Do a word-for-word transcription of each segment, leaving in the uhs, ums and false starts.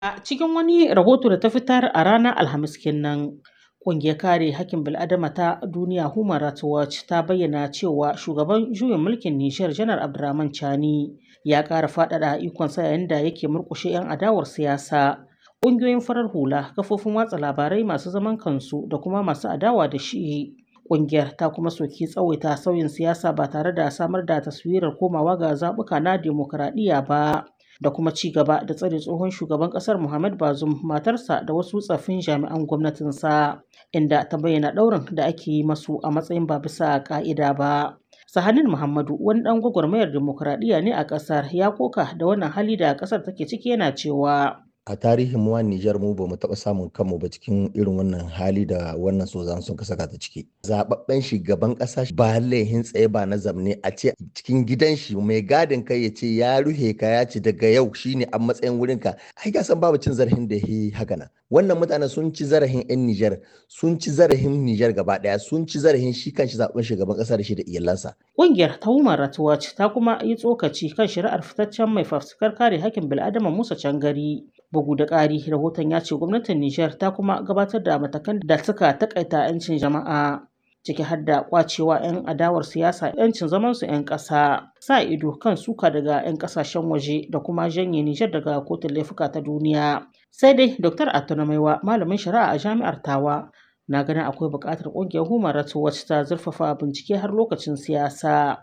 A cikin wani rahoto da ta fitar a ranar Alhamis kenan, Ƙungiyar Kare Haƙƙin Bil'adama ta Duniya Human Rights Watch ta bayyana cewa shugaban juyin mulkin Nijar Janar Abdurrahman Chani ya ƙara faɗaɗa ikonsa yayin da yake murƙushe 'yan adawar siyasa, ƙungiyoyin farar hula, kafofin watsa labarai masu zaman kansu da kuma masu adawa da shi. Ƙungiyar ta kuma soki tsawaita sauyin siyasa ba tare da samar da taswirar komawa ga zaɓuka na dimokuraɗiyya ba. Da kuma ci gaba da tsare tsohon shugaban kasar Mohamed Bazoum, matarsa da wasu tsaffin jami'an gwamnatinsa, inda ta bayyana ɗaurin da ake yi masu a matsayin ba bisa ƙa'ida ba. Sahanin Muhammadu wani ɗan gwagwarmayar dimokuraɗiyya ne a ƙasar ya koka da wannan hali da ƙasar take ciki yana cewa. A tarihin mu Nijar mu ba mu taɓa samun kanmu ba cikin irin wannan hali da wannan sozan sun ka saka ta ciki. Zababben shugaban ƙasa ba laihin tsaye ba na zamne a ce cikin gidan shi mai gadin kai ya ce ya ruhe ka ya ce daga yau shine a matsayin wurin ka. Ai ka san babu cin zarafin da yi haka nan. Wannan mutane sun ci zarafin 'yan Nijar, sun ci zarafin Nijar gaba ɗaya, sun ci zarafin shi kanshi zaɓen shugaban ƙasa da shi da iyalansa. Ƙungiyar ta Human Rights Watch ta kuma yi tsokaci kan shari'ar fitaccen mai fafutukar kare hakkin bil'adama Musa Cangari. Bugu da ƙari, rahoton ya ce gwamnatin Nijar ta kuma gabatar da matakan da suka takaita 'yancin jama'a, ciki har da kwacewa 'yan adawar siyasa 'yancin zamansu 'yan ƙasa, sa ido kan suka daga 'yan ƙasashen waje da kuma janye Nijar daga kotun laifuka ta duniya. Sai dai Doktor Attuna Maiwa, malamin shari'a a jami'ar Tawa, na ganin akwai buƙatar ƙungiyar Human Rights Watch ta zurfafa bincike har lokacin siyasa.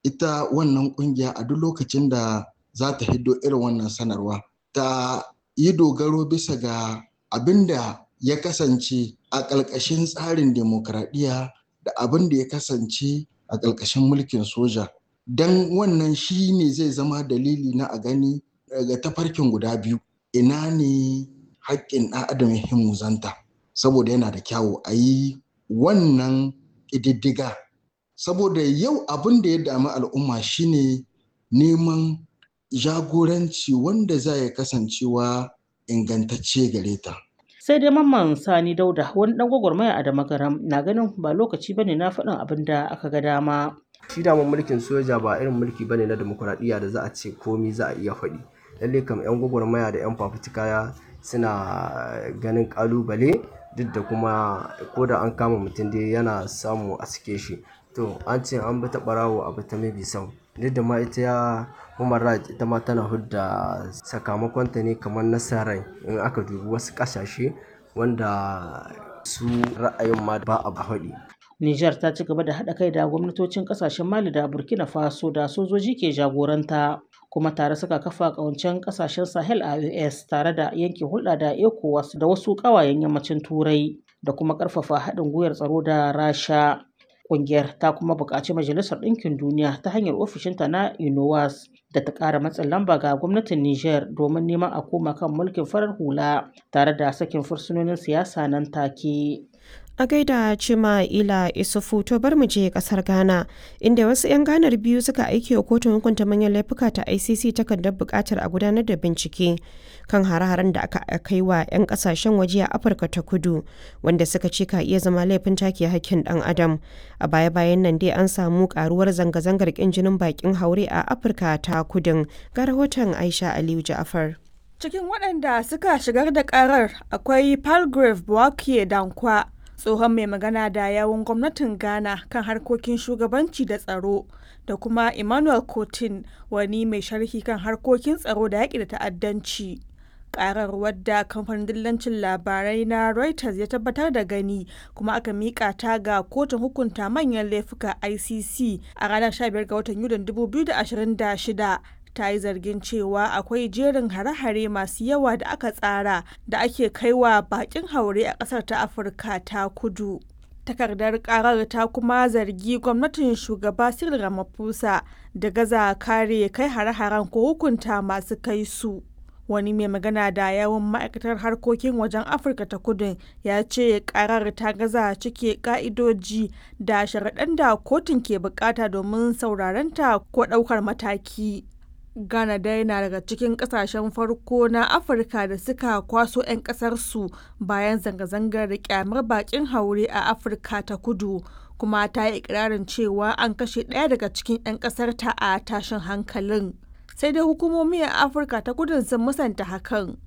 Ita wannan ƙungiya a duk lokacin da za ta hiddo irin wannan sanarwa ta yi dogaro bisa ga abin da ya kasance a ƙalƙashin tsarin demokradiyya da abin da ya kasance a ƙalƙashin mulkin soja. Don wannan shi ne zai zama dalili na a gani daga tafarkin guda biyu ina ne haƙƙin ɗan adam ya muzanta saboda yana da kyawu a yi wannan ƙididdiga saboda yau abin da ya dami al'umma shine neman jagoranci wanda za ya kasancewa ingantacce gare ta. Sai dai Mamman Sani Dauda wani dan gwagwarmaya a Damagaram na ganin ba lokaci bane na faɗin abin da aka ga dama. Shi daman mulkin soja ba irin mulki bane na demokuraɗiyya da za a ce komi za a iya faɗi. Lalle kam 'yan gwagwarmaya da 'yan fafutuka suna ganin ƙalubale duk da kuma ko da an kama mutum dai yana samu a sike shi. To an ce an bi ta ɓarawo a bi ta mabi sau. Duk da ma ita ya human rights ita ma tana hudda sakamakonta ne kamar nasarai in aka dubi wasu ƙasashe wanda su ra'ayin ma ba a faɗi. Nijar ta ci gaba da haɗa kai da gwamnatocin ƙasashen Mali da Burkina Faso da sojoji ke jagoranta kuma tare suka kafa ƙawancen ƙasashen Sahel a U S tare da yanke hulɗa da ECOWAS da wasu ƙawayen yammacin Turai da kuma ƙarfafa haɗin gwiwar tsaro da Rasha. Ƙungiyar ta kuma buƙaci Majalisar Ɗinkin Duniya ta hanyar ofishinta na UNOWAS da ta ƙara matsin lamba ga gwamnatin Nijar domin neman a koma kan mulkin farar hula tare da sakin fursunonin siyasa nan take. A gaida Cima Ila Isufu. To, bar mu je kasar Ghana, inda wasu 'yan Ghanar biyu suka aiki wa kotun hukunta manyan laifuka ta I C C takardar bukatar a gudanar da bincike kan hare-haren da aka kai wa 'yan kasashen waje a Afirka ta Kudu, wanda suka ce ka iya zama laifin take hakkin dan adam. A baya-bayan nan dai an samu karuwar zanga-zangar kin jinin bakin haure a Afirka ta Kudun. Ga rahoton Aisha Aliyu Ja'afar. Cikin waɗanda suka shigar da karar akwai Palgrave Boakye Dankwa, tsohon mai magana da yawun gwamnatin Ghana kan harkokin shugabanci da tsaro, da kuma Emmanuel Cotin, wani mai sharhi kan harkokin tsaro da yaƙi da ta'addanci. Karar, wadda kamfanin dillancin labarai na Reuters ya tabbatar da gani kuma aka mika ta ga kotun hukunta manyan laifuka I C C a ranar sha biyar ga watan Yulin dubu biyu da ashirin da shida, ta yi zargin cewa akwai jerin hare-hare masu yawa da aka tsara da ake kaiwa bakin haure a kasar ta Afirka ta Kudu. Takardar karar ta kuma zargi gwamnatin shugaba Cyril Ramaphosa da gaza kare kai hare-haren ko hukunta masu kai su. Wani mai magana da yawun ma'aikatar harkokin wajen Afirka ta Kudun ya ce karar ta gaza cike ka'idoji da sharaɗan da kotun ke bukata domin saurarenta ko ɗaukar mataki. Ghana dai na daga cikin kasashen farko na Afirka da suka kwaso 'yan kasarsu bayan zanga-zangar kyamar bakin haure a Afirka ta Kudu, kuma ta yi ikirarin cewa an kashe ɗaya daga cikin 'yan kasarta a tashin hankalin. Sai dai hukumomi a Afirka ta Kudun sun musanta hakan.